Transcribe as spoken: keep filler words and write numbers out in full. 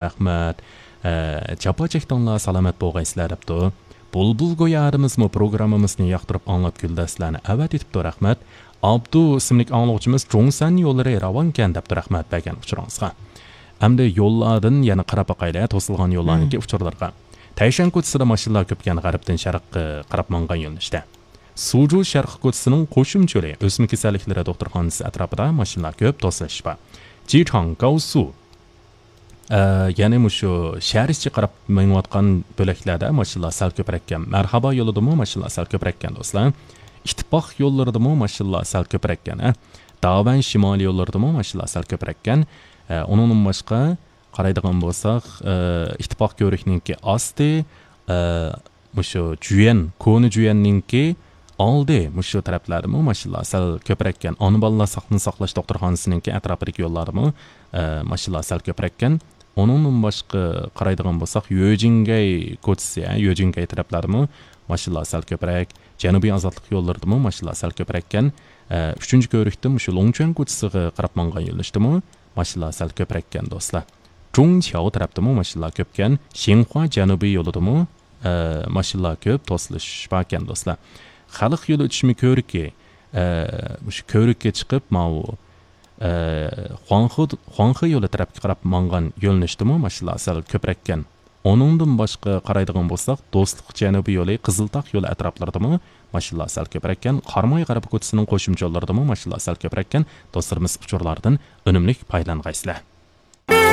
رەھمەت. ئە، جاپا چەكتىڭلار، سالامەت بولغايسىلەر، دەپتۇ. بۇلبۇل گويارىمىزمۇ پروگراممىمىزنى ياقتۇرۇپ ئاڭلاپ كۈلدە سىلەرنى ئەۋەتىۋېتىپتۇ، رەھمەت. ئابدۇ ئىسىملىك ئاڭلىغۇچىمىز جۇڭسەن يوللىرى راۋانكەن، دەپتۇ، رەھمەت بەرگەن ئۇچۇرىڭىزغا. ئەمدى يوللاردىن يەنە قاراپ باقايلى، توسۇلغان يوللارنىڭكى ئۇچۇرلىرىغا. تەيشەن كوچىسىدا ماشىنىلار كۆپكەن، غەربتىن شەرققە قاراپ ماڭغان يۆنىلىشتە. سۇجۇ شەرقىي كوچىسىنىڭ قوشۇمچە يولى، ئۆسمە كېسەللىكلىرى دوختۇرخانىسى ئەتراپىدا ماشىنىلار كۆپ، توسۇلۇش بار. جىچاڭ، گاۋسۇ، ئە، يەنى مۇشۇ شەھەر ئىچىگە قاراپ مېڭىۋاتقان بۆلەكلەردە ماشىنىلار سەل كۆپرەككەن. مەرھابا يولىدىمۇ ماشىنىلار سەل كۆپرەككەن، دوستلار. ئىتتىپاق يوللىرىدىمۇ ماشىنىلار سەل كۆپرەككەن، ھە. داۋەن شىمالىي يوللىرىدىمۇ ماشىنىلار سەل كۆپرەككەن. ئە، ئۇنىڭدىن باشقا قارايدىغان بولساق، ئە، ئىتتىپاق كۆۋرۈكنىڭكى ئاستى، ئە، مۇشۇ جۈيەن، كونا جۈيەننىڭكى ئالدى، مۇشۇ تەرەپلەردىمۇ ماشىنىلار سەل كۆپرەككەن. ئانا بالىلار ساقلىقنى ساقلاش دوختۇرخانىسىنىڭكى ئەتراپىدىكى يوللاردىمۇ، ئە، ماشىنىلار سەل كۆپرەككەن. ئۇنىڭدىن باشقا قارايدىغان بولساق، يۆجىنگەي كوچىسى، ھە، يۆجىنگەي تەرەپلەردىمۇ ماشىنىلار سەل كۆپرەك. جەنۇبىي ئازادلىق يوللىرىدىمۇ ماشىنىلار سەل كۆپرەككەن. ئە، ئۈچىنچى كۆۋرۈكتىن مۇشۇ لوڭچۈەن كوچىسىغا قاراپ ماڭغان يۆنىلىشتىمۇ ماشىنىلار سەل كۆپرەككەن، دوستلار. جۇڭچياۋ تەرەپتىمۇ ماشىنىلار كۆپكەن. شىنخۇا جەنۇبىي يولىدىمۇ، ئە، ماشىنىلار كۆپ، توسۇلۇش باركەن، دوستلار. خەلق يولى ئۆتۈشمە كۆۋرۈكى، ئە، مۇشۇ كۆۋرۈككە چىقىپ، ماۋۇ، ئە، خۇاڭخې، خۇاڭخې يولى تەرەپكە قاراپ ماڭغان يۆنىلىشتىمۇ ماشىنىلار سەل كۆپرەككەن. ئۇنىڭدىن باشقا قارايدىغان بولساق، دوستلۇق جەنۇبىي يولى، قىزىلتاغ يولى ئەتراپلىرىدىمۇ ماشىنىلار سەل كۆپرەككەن. قاراماي غەربىي كوچىسىنىڭ قوشۇمچە يوللىرىدىمۇ ماشىنىلار سەل كۆپرەككەن. دوستلىرىمىز، ئۇچۇرلاردىن ئۈنۈملۈك پايدىلانغايسىلەر.